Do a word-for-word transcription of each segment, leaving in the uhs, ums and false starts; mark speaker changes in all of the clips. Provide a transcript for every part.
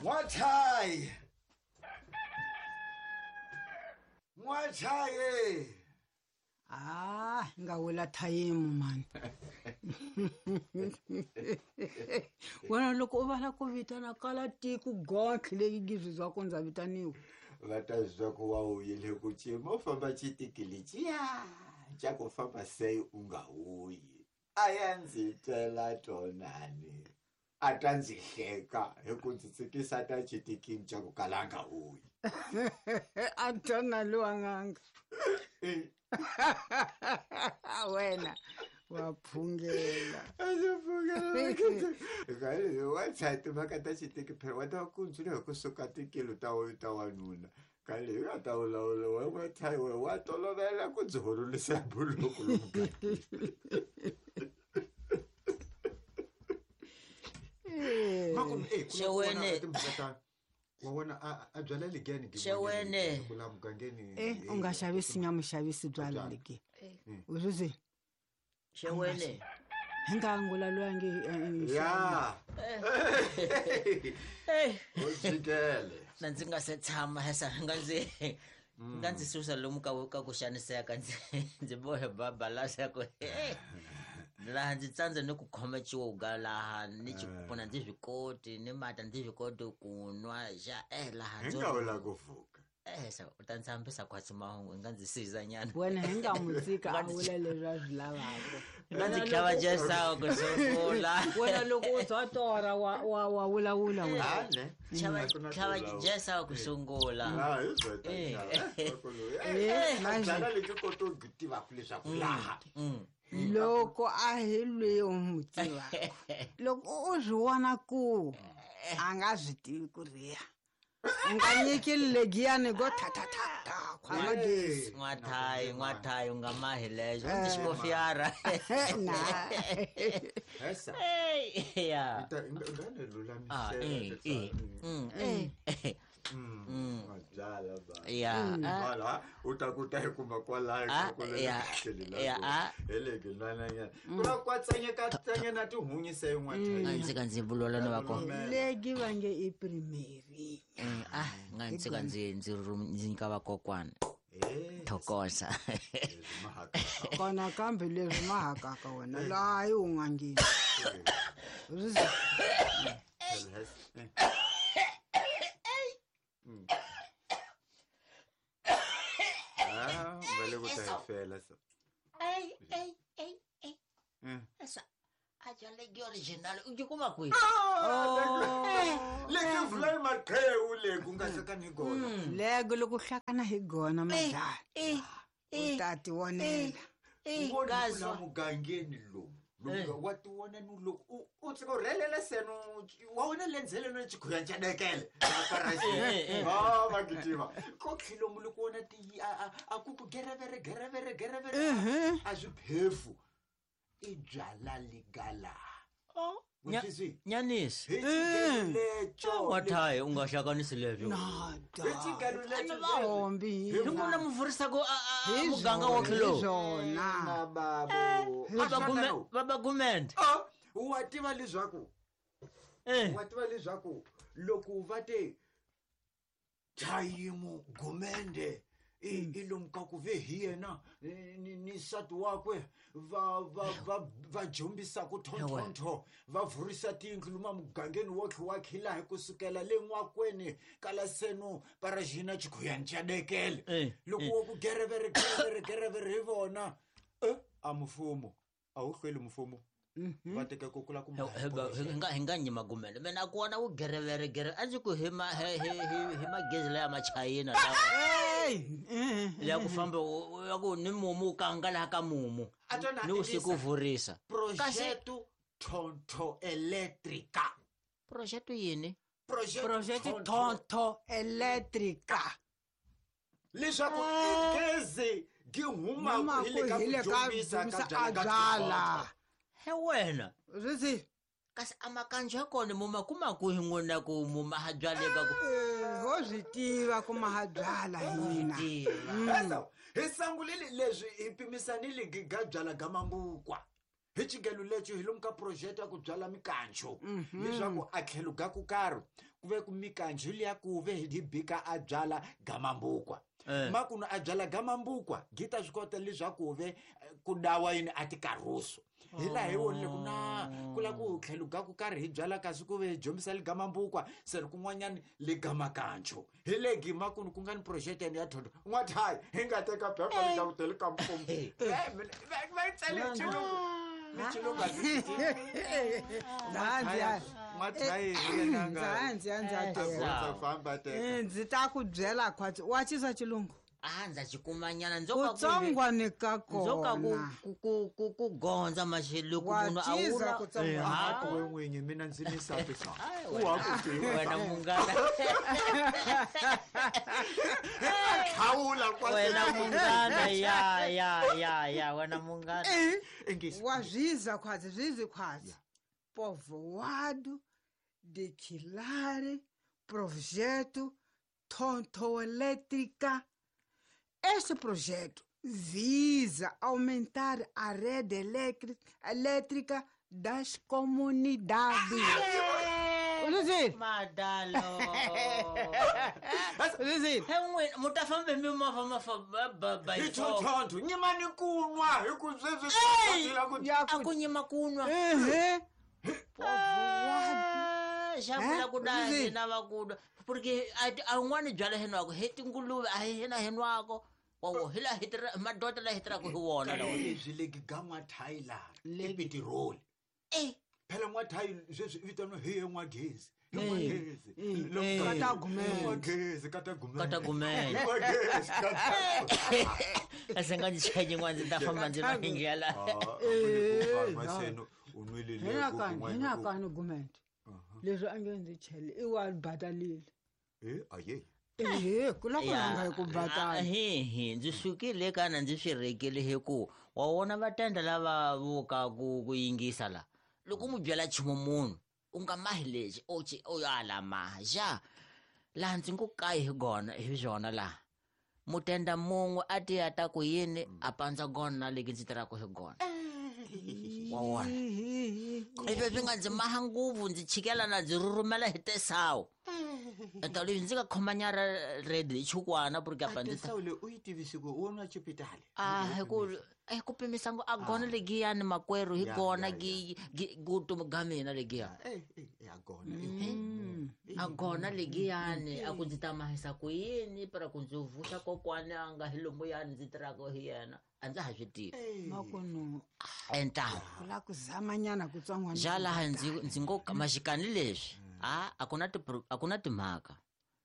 Speaker 1: N'wachayi N'wachayi
Speaker 2: Ah, nga wula thayimu mani. Wena loko u vala ku vitana kala tiko gotlhe leyi gizizwa ku ndza vitaniwa.
Speaker 1: Va ta zwa ku wa uyile ku cima u famba xitikili ciya xa ku famba se u nga wuyi. A ya ndzi twela tonani. A ta ndzi hleka hi ku ndzi tsikisa ta xitikini xa ku kala nga wuyi.
Speaker 2: A tona lowa nganga. Wena wa phungela.
Speaker 1: Wa tshaya timhaka ta xitiki phela wa ta ku ndzile hi kusuka tikilo ta ta wanuna kale hi nga ta vulavula wa wa tshaya we wa tolovela ku ndzi horolisa buloku lomu
Speaker 3: Xewene.
Speaker 1: Wa vona a a byala ligeni
Speaker 3: Xewene.
Speaker 1: Ku la mugangeni
Speaker 2: Eh, u nga xavisi nyama xavisi byala ligi. U swi
Speaker 3: Xewene.
Speaker 2: Hi nga ngula loyi nge
Speaker 1: ya
Speaker 3: Eh,
Speaker 1: u jikele
Speaker 3: na ndzi nga se tshama hesa nga ndzi nga ndzi susa lomu ka ka ku xaniseka ndzi ndzi bohe babalasa ku eh laha ndzi tsandza ni ku khoma xiwuga laha ni xipfuna ndzi swi koti ni mata ndzi swi koti ku nwa xa eh laha
Speaker 1: hi
Speaker 3: ndzo
Speaker 1: nga wula ku vuka
Speaker 3: eh sa u ta ndzi hambisa khwatsi mahungu i nga ndzi siza nyana
Speaker 2: wena hi nga mu tshika a vula leswi a swi lavaka.
Speaker 3: I nga ndzi tlhava jesawu ku sungula
Speaker 2: Wena loko u twa tora wa wa wa vulavula wena.
Speaker 1: ane
Speaker 3: tlhava tlhava jesawu ku sungula
Speaker 1: Ah, hi byota
Speaker 3: Eh.
Speaker 2: Eh, manje
Speaker 1: byala leti koto u tivaka leswaku laha
Speaker 3: Mm.
Speaker 2: loko a hi lweyi u n'wi tivaka loko u swi vona ku a nga swi tivi ku riya u nga nyiki legiyani go ta ta ta ta khwama gezi
Speaker 3: N'wathayi n'wathayi u nga mahi lexo u ndzi xikofiyara
Speaker 2: na
Speaker 1: hesa
Speaker 3: Ey, ya
Speaker 1: ta nga ni
Speaker 3: Ah, eh, eh.
Speaker 1: lulamisela
Speaker 3: Mm, eh. Mm.
Speaker 1: byala ba
Speaker 3: Ya, ah,
Speaker 1: wala u ta ku ta hi kuma kwalaho
Speaker 3: Ah,
Speaker 1: ka ku
Speaker 3: ya, ya, ah.
Speaker 1: hi le ginwananyana ku na kwatsanyeka tsanyana tihunyi se
Speaker 3: a
Speaker 1: n'wathayi
Speaker 3: ndzi ka ndzi vulola ni va kona
Speaker 2: legi va nge i primary
Speaker 3: Eh, ah nga ndzi ka ndzi ndzi rum- ndzi nyika vakokwana thokoza
Speaker 2: kona kambe leswi mahakaka wena laha yi u nga ngeni
Speaker 1: va le ku ta hi fela so
Speaker 3: Ey, ey, ey, ey.
Speaker 1: Mm.
Speaker 3: Esa a bya legi original u yi kuma kwihi
Speaker 1: leki vulani maqhewu le ku nga hlakani hi gona
Speaker 2: lego loko hlakana hi gona madlala
Speaker 3: Eh,
Speaker 2: u ta ti vonela
Speaker 3: eh,
Speaker 1: vona
Speaker 3: ngazwa.
Speaker 1: la mugangeni lomu lomu wa ti vona ni loko u u tsika u rhelela seno wa wena lendzele no xikhuya xa dekele a va gitima ko tlhilomu loko wona ti a a- a ku ku gerevere gerevere gerevere a swi phefu i byala ligala
Speaker 3: Nya- Nyanisi
Speaker 1: hi xigelo leco
Speaker 3: n'wathayi u nga hlanganisi leswo
Speaker 2: nada
Speaker 1: hi xigelo leco
Speaker 2: va hombi
Speaker 3: hi n'wina mi vurisaka a- a- a
Speaker 2: Hi
Speaker 3: muganga
Speaker 2: zwona,
Speaker 3: wa khilo
Speaker 2: hi zwona
Speaker 1: na babo
Speaker 3: vabagumende
Speaker 1: Ah, wa tiva leswaku
Speaker 3: Eh.
Speaker 1: wa tiva leswaku loko va te thayimu gumende i i lomu ka ku ve hi yena ni ni- ni nsati wakwe va va va va jombisaka thonthonto va vurisa tiyindlu luma mugangeni wotlhe wa khila hi kusukela le n'wakweni kala seno parajina chikhuyani xa dekele
Speaker 3: Eh,
Speaker 1: loko wo ku gerevere gerevere gerevere hi vona eh, a mfumo a wu hlweli mfumo va teka ku kula ku
Speaker 3: He- he- he- hi nga hi nga nyima gumende mina a ku wona wu gerevere gereve a ndzi ku hi ma hi hi hi- hi magezi laya machayina lawa
Speaker 2: Ey, eh,
Speaker 3: leya ku famba u- u- ya ku ni mumu u kanga laha ka mumu
Speaker 1: A twana
Speaker 3: ni usiku u vurisa kasi
Speaker 1: projeto tonto elétrica
Speaker 3: projeto yini
Speaker 1: projeto
Speaker 2: project tonto electrica
Speaker 1: leswaku i gezi gi humaka hi le ka
Speaker 2: hi le
Speaker 1: ku
Speaker 2: ka
Speaker 1: jombisa ka
Speaker 2: jombisa
Speaker 1: byala
Speaker 2: a
Speaker 1: ka
Speaker 2: byala
Speaker 3: he wena
Speaker 2: swi
Speaker 3: kasi a makanjo ya kona muma kuma kwihi n'wina ku muma ha byaleka ku
Speaker 2: ho Ho swi tiva ku maha byala hina.
Speaker 1: Esa hi sangulile leswi hi pimisanile ga byala ga mambukwa. Hi xigelo lexi hi lomu ka project ya ku byala mikancho. Leswaku a tlhelo ga ku karhi ku ve ku mikancho liya ku ve hi bika a byala ga mambukwa. Makuno a byala ga mambukwa gita swi kota leswaku ve ku dawa yini a tikaruso. Hi laha hi vonile ku na ku la ku tlhelo ga ku karhi hi byala kasi ku ve hi jombisa le ga mambukwa se ri kun'wanyani le ga makancho. Hi le gima ku ku nga ni project ya thonto n'wathayi hi nga teka phepha le ka vuteli ka mfumo. Va yi tsale xilungu. Ni xilungu a ndzi n'wathayi
Speaker 2: Ndzi ndzi
Speaker 1: famba teka.
Speaker 2: Ndzi ta ku byela khwatsi wa chisa xilungu.
Speaker 3: Ah ndza xikumanyana ndzo ka ku
Speaker 2: Kutsongwane ka
Speaker 3: ndzo ka ku
Speaker 2: kona.
Speaker 3: ku ku ku ku gondza maxelo ku munhu a
Speaker 2: Wa
Speaker 3: wula
Speaker 1: Eh a ku we n'winyi mina ndzi ni sati sa. U wa ku tiva.
Speaker 3: Wena munghana.
Speaker 1: Khawula kwa
Speaker 3: Wena munghana ya ya ya ya wena munghana.
Speaker 1: Engisi.
Speaker 2: Wa zwiza khwatsi zwizi khwatsi. Povoado de Quilare, projeto Tonto Elétrica. Este projeto visa aumentar a rede elétrica das comunidades. Luzi.
Speaker 3: Madalo.
Speaker 2: Luzi.
Speaker 3: He n'wina mu ta fambe mi movha ma fa ba ba
Speaker 1: Hi tonto nyimani kunwa hi ku sweswi la ku
Speaker 3: a ku nyima kunwa.
Speaker 2: Ehe.
Speaker 3: Xa vula ku da hina va ku porque a un'wana byala henwako he tinguluve a hi hina henwako wa hi la hi tirha madota la hi tirhaka hi wona lawa
Speaker 1: leswi le ga n'wathayi laha i petiroli.
Speaker 3: Eh
Speaker 1: phela n'wathayi sweswi i vitaniwa hi ye n'wagezi. Hi n'wagezi.
Speaker 2: Kata gumende.
Speaker 1: N'wagezi kata gumende.
Speaker 3: Kata gumende.
Speaker 1: N'wagezi kata.
Speaker 3: Ase nga ndzi chaye n'wana ndzi ta famba ndzi va hingela.
Speaker 1: Ah maseno u nwile le
Speaker 2: Hina kani hina kani gumende. Leswi a nge ndzi chele i wa batalile.
Speaker 1: Eh aye.
Speaker 2: Ehe ku la ku rhanga hi ku batala.
Speaker 3: He he ndzi sukile kana ndzi swi rekile hi ku wa vona vatenda lava vuka ku ku yingisa la. Loko mu byela nchumu munhu u nga mahi lexi o ci o ala maja laha ndzi ngo kayi hi gona hi swona laha mutenda mun'we a ti ya ta ku yini a pandza gona leki ndzi tirhaka hi gona. Wa wona ivi swi nga ndzi maha ngopfu ndzi chikela na ndzi rhurhumela hi tesawu. Enta leswi ndzi nga khomanyara redi hi chukwana porque apa ndzi
Speaker 1: Tesawu leyi u yi tivisi ku u nwa chipitali.
Speaker 3: Ah hi ku hi ku pimisa ngo a gona legiyani makwerhu hi gona gi vutomi ga mina legiya.
Speaker 1: Eh eh a gona.
Speaker 3: A gona legiyani a ku ndzi ta mahisa ku yini para ku ndzi vuxa kokwani a nga hi lomu yani ndzi tirhaka hi yena a ndza ha swi tivi.
Speaker 2: Makuno
Speaker 3: enta
Speaker 2: ku la ku zamanyana kutsongwana.
Speaker 3: Ja laha ndzi ndzi ngo maxikani leswi a a ku na a ku na timhaka.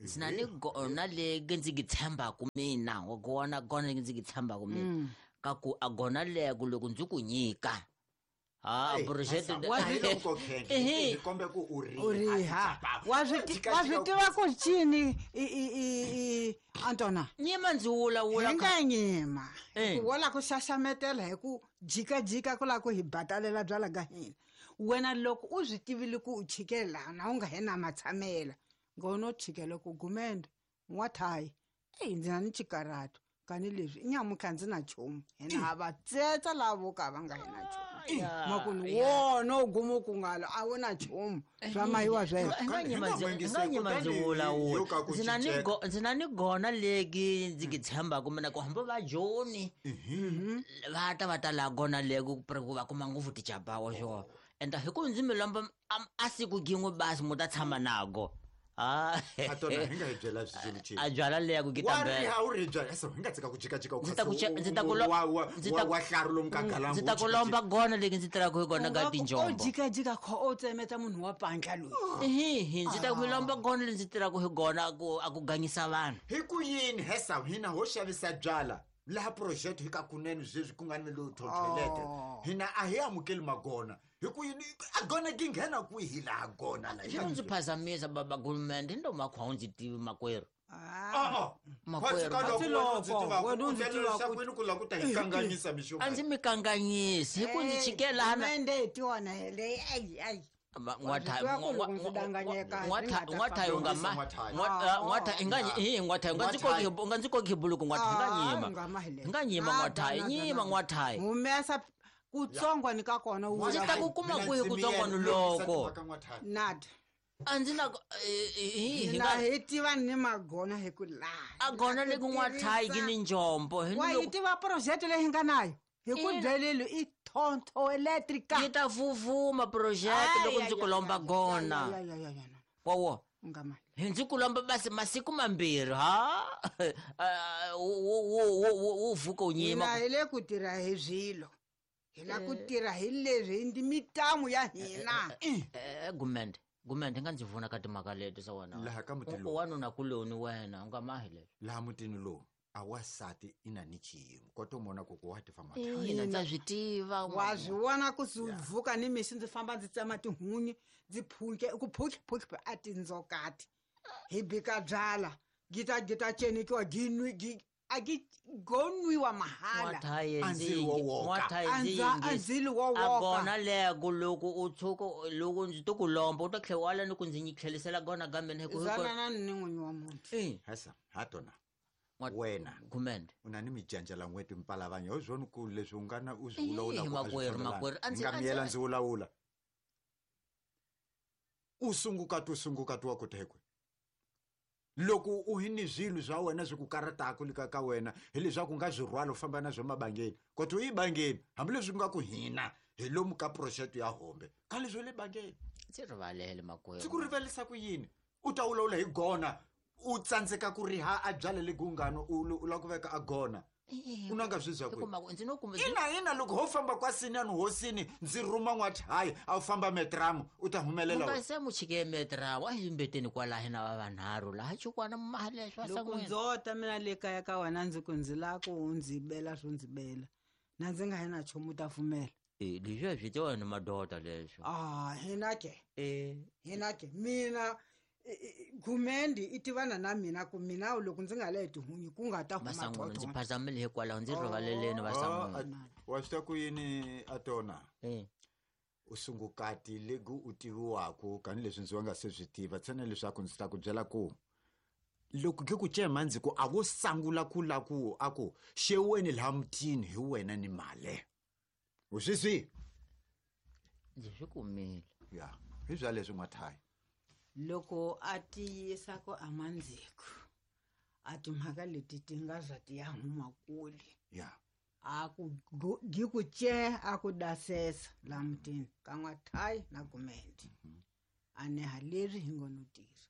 Speaker 3: Ndzi na ni gona legi ndzi gi tshembaka mina wa gona gona legi ndzi gi tshembaka mina ka ku a gona leko loko ndzi ku nyika. Ah project
Speaker 1: hi kombe ku u
Speaker 2: riha. Wa swi wa swi tiva ku cini i i i Antona.
Speaker 3: Nyima ndzi wula wula
Speaker 2: ka nga nyima. Ku wala ku xaxametela hi ku jika jika ku la ku hi batalela byala ga hina. Wena loko u swi tivile ku u chikela na u nga hina matshamela ngono chikela ku gumende n'wathayi eyi ndzi na ni chikarato kani leswi i nyamutlha ndzi na nchumu hina va tsetsa lavo ka va nga hina nchumu. Makunu wona u guma ku ngalo a wu na nchumu swa mahiwa sweswo.
Speaker 3: Nga nyima ndzi wula wula ndzi na ni ndzi na ni gona legi ndzi gi tshembaka mina ku hamba va joni va ta va ta la gona legi ku va kuma ngopfu tichapawa swona. Enta hi ku ndzi mi lomba a siku gin'we basi mu ta tshama nago. Ah
Speaker 1: Atona hi nga hi byela swilo chini.
Speaker 3: A byala leya ku gitambela.
Speaker 1: Wa riha u ri byala so hi nga tsika ku jika jika
Speaker 3: Ndzi ta ku ndzi ta ku
Speaker 1: ndzi ta wa hlaru lomu ka galangu.
Speaker 3: Ndzi ta ku lomba gona leki ndzi tirhaka hi gona ga tinjombo.
Speaker 2: O jika jika kho o tsemeta munhu wa pantla loyi.
Speaker 3: Ehe hi ndzi ta ku lomba gona leki ndzi tirhaka hi gona ku a ku ganyisa vanhu.
Speaker 1: Hi ku yini hesa hina ho xavisa byala laha project hi ka kunene sweswi ku nga ni lo toilet. Hina a hi amukeli magona. Hi ku yini a gona gi nghena kwihi laha gona la.
Speaker 3: Swi ndzi phazamisa baba gulumende ndo makhwa u ndzi tivi makwerhu.
Speaker 1: Ah
Speaker 3: Makwerhu.
Speaker 1: ku la ku ta hi kanganyisa mixo.
Speaker 3: A ndzi mi kanganyisi hi ku ndzi chikela hana.
Speaker 2: Mende tiona hele ai ai.
Speaker 3: N'wathayi unga ma n'wathayi nga n'wathayi nga ndzi koki nga ndzi koki buluku n'wathayi nga nyima nga nyima n'wathayi nyima n'wathayi
Speaker 2: humesa kutsongo ni ka kona
Speaker 3: ndzi ta ku kuma kwihi kutsongwani loko
Speaker 2: nada
Speaker 3: a ndzi na
Speaker 2: hina hi tiva ni magona hi ku laha
Speaker 3: a gona le ku n'wathayi ki ni njombo
Speaker 2: wa hi tiva project leyi hi nga nayo hi ku byelile i tonto electrica
Speaker 3: yi ta vuvuma project loko ndzi ku lomba gona wawo hi ndzi ku lomba basi masiku mambirhi ha wu vuka u nyima
Speaker 2: hina hi le ku tirha hi swilo hi la ku tirha hi leswi ndi mitamu ya hina
Speaker 3: gumende gumende nga ndzi vona ka timhaka leti sa wena
Speaker 1: laha ka muti lowu
Speaker 3: wanuna kuloni wena u nga mahi leswi
Speaker 1: laha mutini lowu a wasati ina ni xiyimo koto mona ku ku wa tiva
Speaker 3: ina ndza swi tiva
Speaker 2: wa swi vona ku vuka ni mixi ndzi famba ndzi tsema tihunyi ndzi phunke ku phunke phunke a tindzokati hi bika byala gita gita cenikiwa gi nwi gi a gi go nwiwa mahala andzilo wo woka
Speaker 3: a gona leko loko u tshuka loko ndzi to ku lomba u ta tlhela wala ni ku ndzi nyi tlhelisela gona ka mina hi ku
Speaker 2: zanana ni n'winyi wa muti
Speaker 1: hasa ha tona wena
Speaker 3: gumende
Speaker 1: u na ni mijanja la n'weti mpalavanya ho zwona ku leswi u nga na u swi vulavula
Speaker 3: makwerhu makwerhu a
Speaker 1: ndzi nga miyela ndzi vulavula u sungukati u sungukati wa ku thekwe loko u hi ni swilo swa wena swi ku karataka le ka ka wena hileswaku nga swi rhwala u famba na swo mabangeni kodwa u yi bangeni hambileswi ku nga ku hina hi lomu ka project ya hombe ka leswi le bangeni
Speaker 3: ndzi rivalele makwerhu
Speaker 1: ndzi ku rivalisa ku yini u ta vulavula hi gona u tsandzeka ku riha a byala le gungano u lava ku veka a gona u na nga swi zwa ku ina ina loko ho famba kwasini hosini ndzi rhuma n'wathayi a wu famba metramu u ta humelela
Speaker 3: nga se mu chike metramu a hi mbeteni kwalahi na va vanharhu laha chukwana mahaleswa
Speaker 2: loko ndzo ta mina le kaya ka wena ndzi ku ndzi lava ku u ndzi bela swo ndzi bela na ndzi nga hi na nchumu ta pfumela
Speaker 3: e leswiya swi tiwa ni madoda leswo
Speaker 2: ah hina ke e hina ke mina gumendi i tivana na mina ku mina loko ndzi nga le tihunyi ku nga ta huma
Speaker 3: Vasan'wana ndzi phazamile hikwalaho ndzi rivaleleni Vasan'wana
Speaker 1: wa swi ta ku yini a tona u sungukati legu u tiviwaku kanileswi ndzi wa nga se swi tiva ntsena leswaku ndzi ta ku byela ku loko ke ku cema ndzi ku a vo sangula ku la ku a ku xeweni laha mutini hi wena ni male u swi swi
Speaker 3: ndzi swi kumile
Speaker 1: ya hi bya leswi n'wathayi
Speaker 2: loko a tiyisa ku amandziko a timhaka leti ti nga za ti ya huma kule
Speaker 1: ya
Speaker 2: a ku gi ku ce a ku dasesa laha mutini ka n'wathayi na gumendi a neha leswi hi ngo no tirha